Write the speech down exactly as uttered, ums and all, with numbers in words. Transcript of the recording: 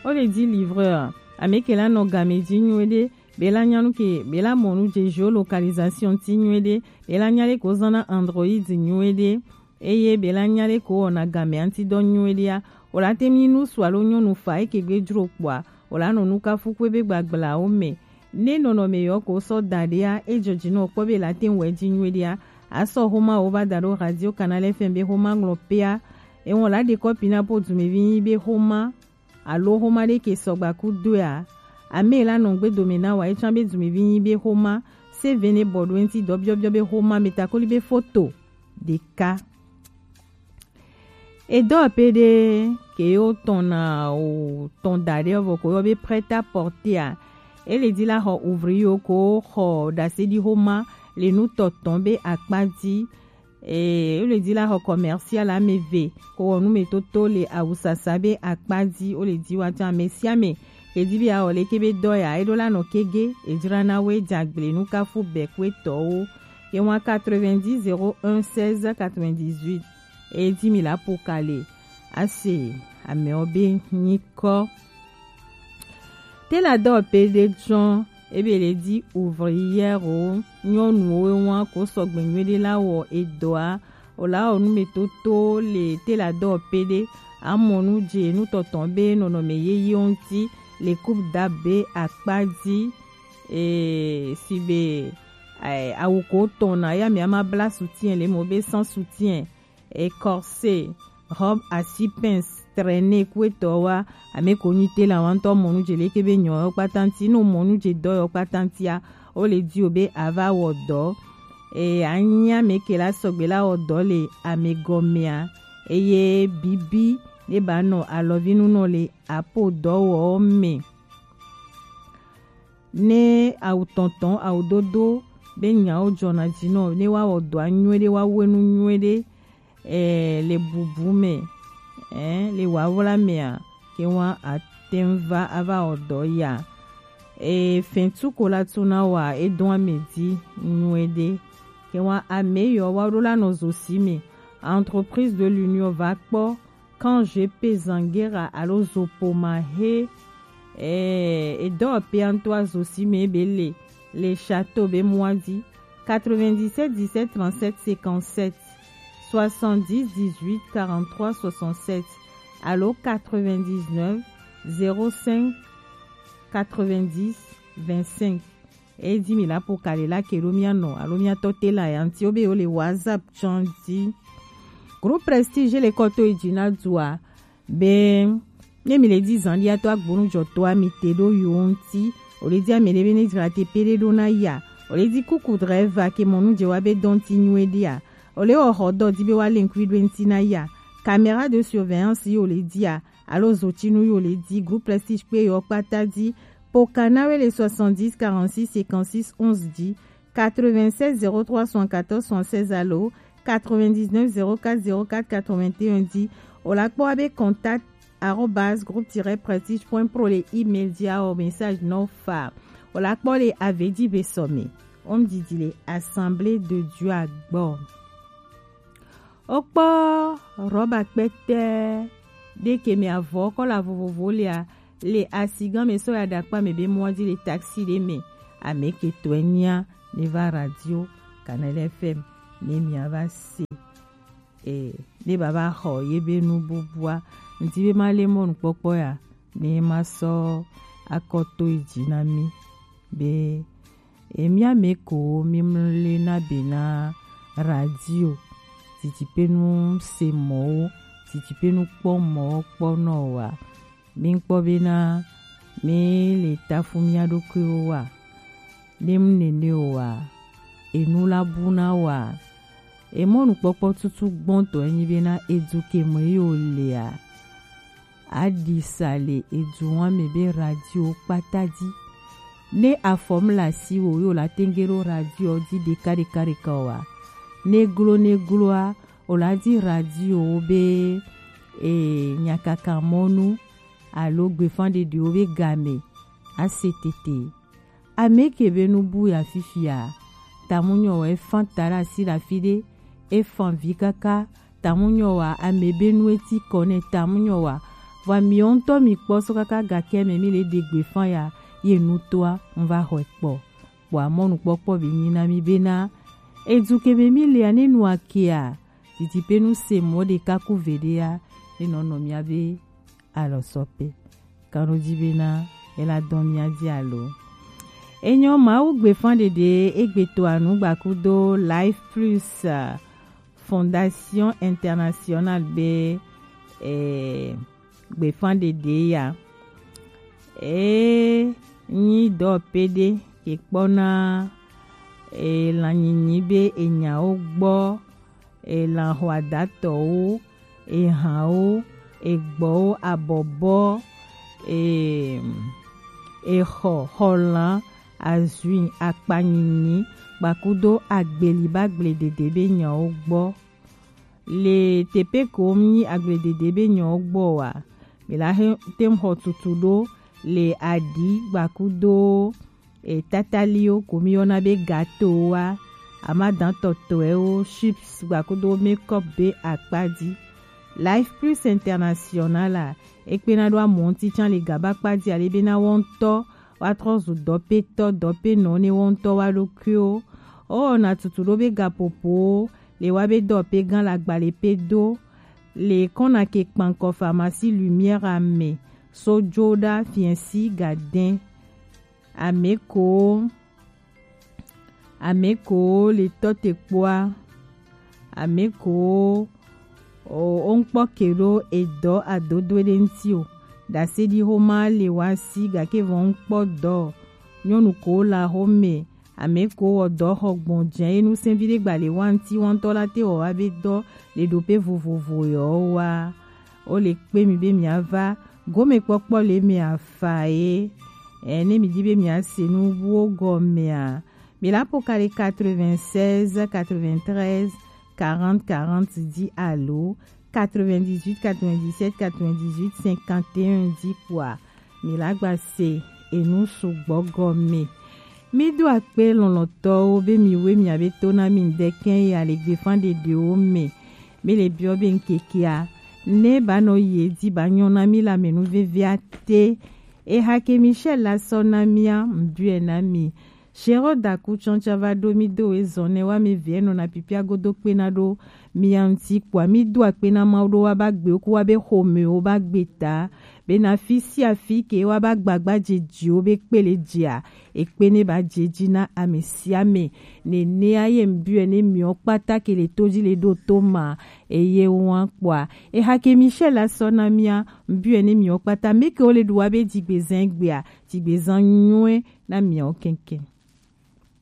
O le di livreur, ame ke la nɔ game ji nyuie ɖe, be la nya nu ke, be la mɔ nu je géolocalisation ti nyuie ɖe, be la nya le ko zan na Android nyuie ɖe, eye be la nya le ko wɔna game anti dɔ nyuie ɖea, o la te mi nu su alo nyɔnu fa eke gbe jro kpɔa, o la nɔ nu kafu kue be gbagblaa wo me. Ne nɔnɔme yɔ ko sɔ da ɖea, e jɔ ji nɔ kpɔ be la te wɛ ji nyuie ɖea, a sɔ xoma wo va da ɖo Radio Canal F M be xoma ŋlɔ pea, e wɔn la ɖe kɔpi na po dumevi nyi be xoma alo xoma ɖe ke sɔgba ku doea, ame la nɔ gbe dome na wa, e tsã be dumevi nyi be xoma, se ve ne bɔ ɖo ŋti dɔ biɔbiɔ be xoma me takoli be foto ɖeka. Edɔ pe ɖe ke yo tɔn na o tɔn da ɖe vɔ ko yɔ be prêt à porter a. E le di la xɔ ouvrier ko xɔ ɖase ɖi xoma le nu tɔtɔn be akpa di. E le di la xɔ commercial ame ve ko wɔ nu me toto le awusasa be akpa di. O le di wa tsa ame sia ame ke di be awɔ le ke be dɔ ya e ɖo la nɔ kege e dzra na we dzagble nu kafu bɛ kue tɔwo. Ke wa quatre-vingt-dix zéro un seize quatre-vingt-dix-huit. E di mi la po kale ase amewo be nyikɔ. Te la dɔ pe ɖe tsɔ ebe le di ouvrière o nyɔnuwo wa ko sɔgbe nyuie ɖe la wɔ edɔa o la wɔ nu me toto le te la dɔ pe ɖe amɔ nu dze nu tɔtɔ be nɔnɔme yeye ŋuti le coupe da be akpa di. E, si be, e, awu ko tɔn na ya mi ama bla soutien le mo be sans soutien, e, corset, robe à six pinces, traînée kue tɔ wa ame ko nyi te la wa ŋutɔ mɔnu dze leke be nyɔ yɔ kpata ŋuti no mɔnu dze dɔ yɔ kpata ŋutia o le di o be ava wɔ dɔ. E, anyi ame ke la sɔgbe la wɔ dɔ le ame gɔmea eye bibi ne ba nɔ alɔvinu nɔ le apo dɔ wɔ me. Ne awu tɔntɔn awu dodo be nyawo dzɔna dzi nɔ ne wa wɔ dɔa nyuie ɖe wa wenu nyuie ɖe, eh, le bubu me, eh, le wawla mea ke wa atem va ava wɔ dɔ ya. E fɛn tu ko la tu na wa e dɔn ame di nyuie ɖe ke wa ame yɔ wa ɖo la nɔ zo si me. Entreprise de l'Union va kpɔ Kan G P Zangera alo Zopoma he, eh, edɔ pe anto azo si me be le, le château be muadi, quatre-vingt-dix-sept dix-sept trente-sept cinquante-sept, soixante-dix dix-huit quarante-trois soixante-sept, alo quatre-vingt-dix-neuf zéro cinq quatre-vingt-dix vingt-cinq. E di mi la po kale la ke ɖo mia nɔ alo mia tɔ te la ya ŋuti wo be wo le WhatsApp tsɔn di. Groupe Prestige le kɔto yi dzi na dua be ne mi le di zan dia to agbonu jɔ to ami te ɖo yo ŋuti. O le di ame ɖe be ne dzra te pe ɖe ɖo na ya. O le di kuku driver ke mɔ nu dze wa be dɔn ti nyuie ɖe ya. O le wɔ xɔ dɔ di be wa le ŋkui ɖo ŋuti na ya. Caméra de surveillance yi o le di ya. Alo zotinu yi o le di groupe Prestige kpe yɔ kpata di. Po kana we le soixante-dix quarante-six cinquante-six onze di, quatre-vingt-seize zéro trois soixante-quatorze soixante-seize alo quatre-vingt-dix-neuf zéro quatre zéro quatre quatre-vingt-un di. O la kpɔ wa be contact arobase groupe tiret prestige point pro le email di a o message nɔ fa. O la kpɔ le avedi be sɔmi. O ŋdidi le Assemblée de Dieu a gbɔ. Wokpɔ rɔba kpɛtɛ ɖe ke me avɔ kɔla vovovo lea le asigã me sɔ ya ɖe akpa me be mɔ di le taxi ɖe me. Ame ke tɔe nyia ne va radio Canal F M ne mia va se, e, ne baba xɔ ye be nu bubua. Ŋdi be ma le mɔnukpɔkpɔ ya ne ma sɔ akɔto yi dzi na mi be Emia me ko mi mle na be na radio, titi pe nu se mɔwo, titi pe nu kpɔ mɔwo kpɔ nɔ wa. Mi kpɔ be na mi le tafu mia ɖokuiwo wa. Ne mu nene o wa, enu la bu na wa. Emɔnukpɔkpɔ tutu gbɔntɔ enyi be na edu ke me yi o lea. Aɖisa le eduwa me be radio kpata di. Ne afɔm le asiwò ye wòla tenge ɖo radio di ɖeka ɖeka ɖeka oa, ne glo ne gloa, wòla di radio be, e, nyakaka mɔnu alo gbefãɖeɖewo be game ase tete. Ame ke be nu bu ya fifia, tamunyɔ wɔ efã ta ɖe asi le afi ɖe, efã vi kaka, tamunyɔ wa ame be nu eti kɔ nɛ, tamunyɔ wa Vɔ mi ŋutɔ mi kpɔ sɔ kaka gakɛ mɛ mi le ɖe gbe fan ya ye nu toa ŋva xɔe kpɔ. Kpɔ amɔnu kpɔkpɔ be nyi na mi be na edu ke mɛ mi le ane nu akea titi pe nu se mɔ ɖeka ku ve ɖe ya ne nɔ nɔ mia be alɔ sɔ pe. Kanu dzi be na ela dɔn mia dzi alo. Enyɔ Mawu gbe fan ɖeɖe egbe to anu gbakudo Life Plus, uh, Fondation Internationale be, eh, gbe fan ɖeɖe ya. E nyi dɔ pe ɖe ke kpɔ na e lanyinyi be enyawo gbɔ, e lan xɔadatɔwo, e hanwo, e gbɔwo, abɔbɔ, e, e xɔ, xɔlan, azui, akpanyinyi, gbakudo agbeli ba gble dede be nyawo gbɔ. Le tepe ko mi nyi agbledede be nyɔ gbɔ wa. Mi la he tem xɔ tutu ɖo le aɖi gbakudo e tataliwo ko mi yɔna be gato wa, amadan tɔtɔewo, chips gbakudo makeup be akpa dzi. Life Plus International a, ekpena ɖo amɔ ŋuti can le gaba kpa dzi ale be na wɔ ŋutɔ wa trɔ zu dɔpetɔ dɔpenɔ ne wɔ ŋutɔ wa ɖokuiwo. O na tutu ɖo be gapopowo le wa be dɔ pe gan la gbale pe do le kɔna ke kpankɔ pharmacie Lumière ame so jo ɖa fiɛsi gadɛn. Ame ko ame ko le tɔ te kpoa, ame ko o ŋkpɔ ke ɖo edɔ adodo ɖe ŋti o. Dase ɖi xoma le wa si gake vɔ ŋkpɔ dɔ nyɔnu ko la xome. Ame ko wɔ dɔ xɔ gbɔn jɛn enu sɛnvi ɖe gba le wa ŋti wa ŋutɔ la te wɔ wa be dɔ le ɖo pe vovovo yɔ wa. O le kpe mi be mia va gome kpɔkpɔ le mia fa ye. E ne mi di be mia se nu wo gɔmea, mi la po ka le quatre-vingt-seize, quatre-vingt-treize, quarante, quarante di alo quatre-vingt-dix-huit, quatre-vingt-dix-sept, quatre-vingt-dix-huit, cinquante et un di kpoa, mi la gba se enu sugbɔ gɔme. Mi do akpe lɔlɔtɔwo be mi we mia be to na mi ŋdɛkɛ ya le gbefan ɖeɖewo me. Mi le biɔ be ŋkekea ne ba nɔ ye di ba nyɔ na mi la me nu vevia te. Eha ke Michel la sɔ na mia ŋdɔɛ na mi. Shero daku tsɔntsa va ɖo mi do ezɔn ne wa mi vie nɔ na pipia godo kpe na ɖo mia ŋti kpoa mi do akpe na Mawu ɖo wa ba gbe ku wa be xɔmewo ba gbe ta. Be na fi sia fi ke wa ba gbagba dze dziwo be kpe le dzia, ekpe ne ba dze dzi na ame sia ame. Nenea ye ŋbiɔe ne miɔ kpata ke le to dzi le ɖo to ma, eye wa kpoa. Eha ke Michel la sɔ na mia, ŋbiɔe ne miɔ kpata, me ke wo le ɖu wa be dzigbezan gbea, dzigbezan nyuie na miawo kɛnkɛn.